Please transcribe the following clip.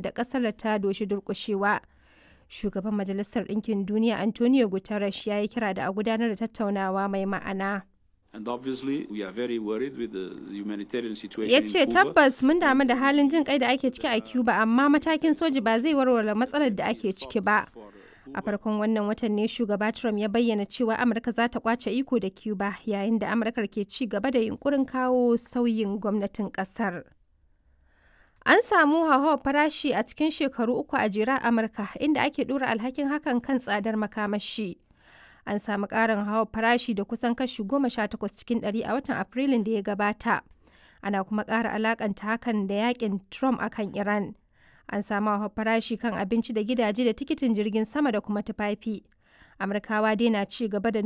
Da ƙasar ta doshi durƙushewa. Shugaban Majalisar Ɗinkin Duniya Antonio Guterres ya yi kira da a gudanar da tattaunawa mai ma'ana. And obviously, we are very worried with the humanitarian situation Ya in ce Cuba. Tabbas mun damu da halin jin kai da ake ciki a Cuba, amma matakin soji ba zai warware matsalar da ake ciki ba. A farkon wannan watan ne shugaba Trump ya bayyana cewa Amurka za ta kwace iko da Cuba, yayin da Amurkar ke ci gaba da yunkurin kawo sauyin gwamnatin kasar. An samu hauhawar farashi a cikin shekaru 3 a jere a Amurka, inda ake ɗora alhakin hakan kan tsadar makamashi. An samu ƙarin hauhawar farashi da kusan kashi 18 cikin ɗari a watan Afrilun da ya gabata. Ana kuma ƙara alakanta hakan da yakin Trump akan Iran. An samu hauhawar farashi kan abinci da gidaje da tikitin jirgin sama da kuma tufafi. Amurkawa dai na ci gaba da nuna